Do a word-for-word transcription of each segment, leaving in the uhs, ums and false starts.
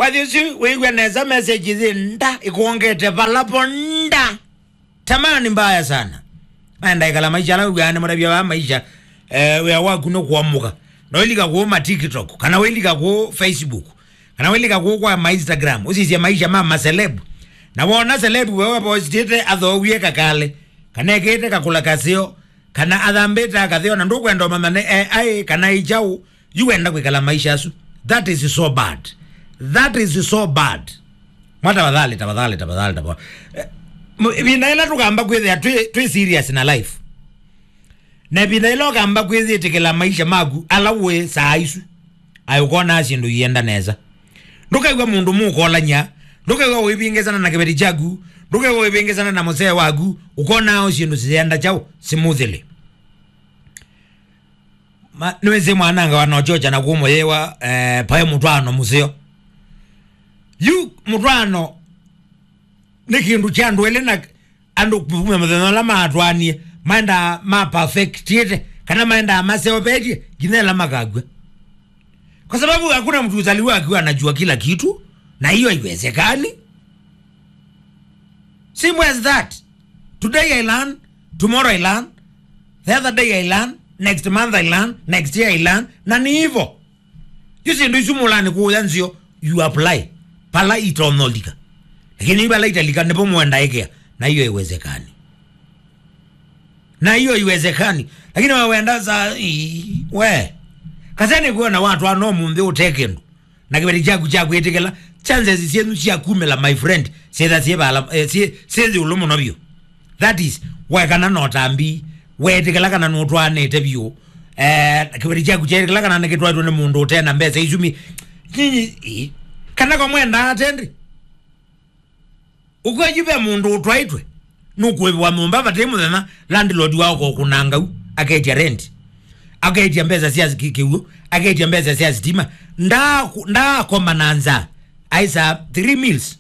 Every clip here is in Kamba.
Wathi ũsu wĩw'a nesa message yĩ nda, ĩkwongete vala po nda. Tamani mbaya sana. Maenda ĩkala maisha ala wĩw'aa nĩ mũtavya wa maisha, eh, wĩa waku nĩ kũamũka. No ilika kũũ ma TikTok, kana wĩlika kũũ Facebook, kana wĩlika kũũ kwa ma Instagram, ũsisye maisha ma ma celeb. Na wona celeb wewe postĩte athoowie kakale, kana ekĩte kakũla kaseo, kana athambĩte akatheo, na ndũkwenda ũmanya nĩ A I kana ĩ kyaũ, yu wenda kwĩkala maisha asu. That is so bad. That is so bad. Mwa tafadhali, tafadhali, tafadhali, tafadhali. Eh, mu-, ĩvinda ĩla tũkamba kwĩthĩa twĩ, twĩ serious na life, na ĩvinda ĩla ũkamba kwĩyĩtĩkĩla maisha maku ala ũĩ saa isu, aĩ ũkonaa syĩndũ ienda nesa. Ndũkew'a mũndũ mũkolany'a, ndũkew'a ũivĩngĩsana na kĩveti kyaku, ndũkew'a ũivĩngĩsana na mũsee waku, ũkonaa o syĩndũ sienda kyaũ smoothly. Ma, nĩwĩsĩ mwananga wanochocha na kũmũyĩwa, eh, paĩ mũtwaano mũseo. Yu mũtwaano nĩ kĩndũ kya andũ elĩ, na andũ kuma mũthenya ũla maatwaanie, maendaa ma perfectĩte, kana maendaa maseũvetye nginya ĩla makakw'a. Kwa sababu hakuna mtu huzaliwa akiwa anajua kila kitu, na hiyo haiwezekani. Simple as that. Today I learn, tomorrow I learn, the other day I learn, next month I learn, next year I learn, na ni hivyo. Yu syĩndũ isu mũlanĩ kũũya nzeo, you apply. Pala itonyolika. Lakini yu pala italika, nĩpo mwenda ĩkea. Na hiyo haiwezekani. Na hiyo haiwezekani. Lakini wewe wenda saa, ii, we. Kasene kuona watu ano mũnthĩ ũte kĩndũ. Na kĩveti kyaku kya kwĩtĩkĩla, chances syenyu sya kumĩla, my friend, syĩtha syĩ vala, eh, syĩ, syĩ ĩũlũ mũno vyũ. That is, wekana na ũtambi, weetĩkĩla kana nũtwaanĩte vyũ, eh, kĩveti kyaku kyeetĩkĩla kana nĩkĩtwaĩtwe nĩ mũndũ ũte na mbesa isu mi-, nyinyi, i, kana kwa mwendaa atendi. Ũkwĩyu ve mũndũ ũtwaĩtwe, nũkũĩvwa nyũmba vate mũthenya, landlord wao kokũnanga u, aketya rent, aketya mbesa sya ki-, kĩw'ũ, aketya mbesa sya sitima, ndaa-, ndaakomba na nzaa, aisa three meals,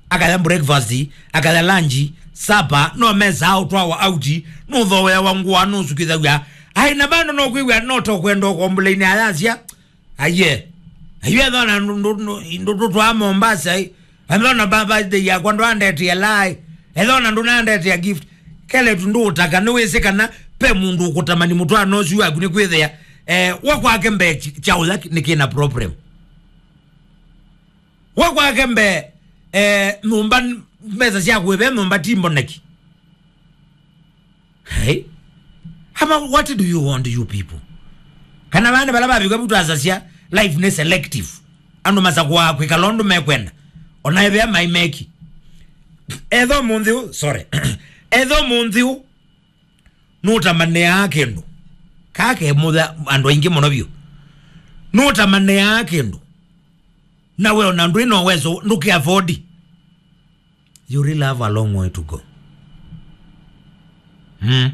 akaya breakfast, akaya lunch, supper, no mesaa ũtwawa out, nũthooeawa ngũa, nũsukĩthaw'a, ai, na bado no kwĩw'a no tokwenda ũkomboleini ayasya, Aiye. Aiye, ethona ndũ, ndũ, ndũ, ndũ tũtwaa Mombasa, ĩ. Ethona ba birthday yakwa ndwandetea lai. Ethona ndũnandetea gift. Keletu ndũũtaka, nĩwĩsĩ kana pe mũndũ ũkũtamani mũtwaano ũsu waku nĩ kwĩthĩa, eh, wa kwake mbee ch-, kyaũ ya nĩ kĩna problem. Wa kwake mbee, eh, nyũmba, mbesa sya kũĩve nyũmba ti mboneki. Hey. Hama, what do you want, you people? Kana vana vala vavika vutu asasya, life nĩ selective. Andũ masakũaa kwĩkala ũndũ mekwenda. Ona ĩvĩa maimeki. Etho mũnthĩ ũ, sorry. Etho mũnthĩ ũ, nũtamanĩaa kĩndũ. Kake mũtha andũ aingĩ mũno vyũ. Nũtamanĩaa kĩndũ. Na we ona ndwĩ na ũwezo, ndũkĩ afford. You really have a long way to go. Mm.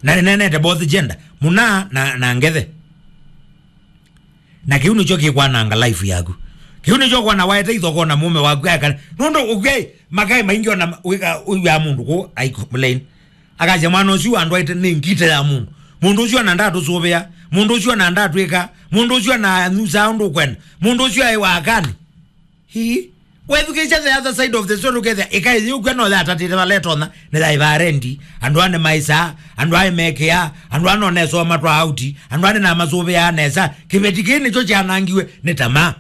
Na nĩnenete both gender, mũna na, na ngethe. Na kĩu nĩkyo kĩkwananga life yaku. Kĩu nĩkyo kwana waete ithokona mũme waku aka. Nũndũ ũkwĩ makai maingĩ ona wĩka ũiwa mũndũ kũ ai complain. Akasya mwana ũsu andwaĩte nĩ ngite ya mũndũ. Mũndũ ũsu ona ndatũsũvĩa. Mũndũ ũsu ona ndatwĩka. Mũndũ ũsu ona nyusaa ũndũ ũkwenda. Mũndũ ũsu aĩ wakani. Hii. Wethukĩĩsya the other side of the story, ũkethĩa ĩkaĩ yĩũkw'a no yatatĩte vala ĩtonya, nĩyaĩvaa rendi, andũ aa nĩmaĩsaa, andũ aa nĩmekĩaa, andũ aa no nesoo matwaa auti, andũ aa nĩnamasũvĩaa nesa. Kĩveti kĩĩ nĩkyo kyanangiwe nĩ tamaa.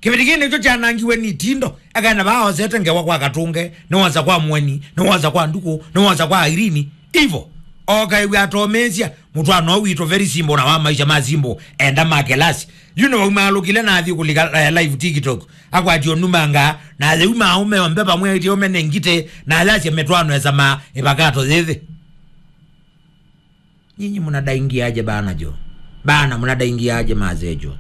Kĩveti kĩĩ nĩkyo kyanangiwe nĩ itindo, ekaĩ na vaa osete ngewa kwa Katũnge, nĩwosa kwa Mũeni, nĩwosa kwa Ndukũ, nĩwosa kwa Irene, ivo. Okaĩw'a atomĩĩsya, mũtwaano ũũ witũ very simple na wa maisha ma simple, enda ma kelasi. Yu nĩwaumaalũkile na athi kũlika, eh, live TikTok. Akwatio numanga, na atheu ma aume onthe vamwe aitye aume nĩ ngite, na ayasya mĩtwaano esa ma ĩvakato yĩthĩ. Nyinyi mnadaingiaje bana jo? Bana mnadaingiaje mazee jo?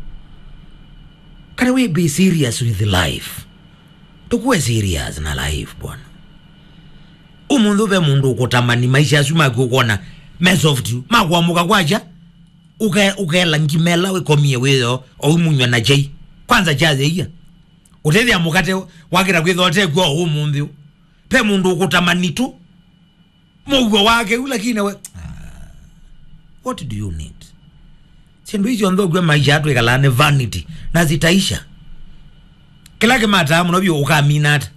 Can we be serious with life? Tukuwe serious na life bwana. Ũmũnthĩ ve mũndũ ũkũtamani maisha asu maku ũkona me soft, makwamũka kwakya, ũke-, ũkela ngimela wĩkomie wĩyo, o umunywa na chai. Kwanza cha yeia. Ũtethia mũkate wakĩra kwĩtha ũtekw'a o ũmũnthĩ. Pe mũndũ ũkũtamani tu. Mũuo wake u, lakini we, ah, what do you need? Syĩndũ icio nthũku maisha atwĩkalaa nĩ vanity, na zitaisha. Kĩla kĩmataa mũno vyũ ũkamina ata?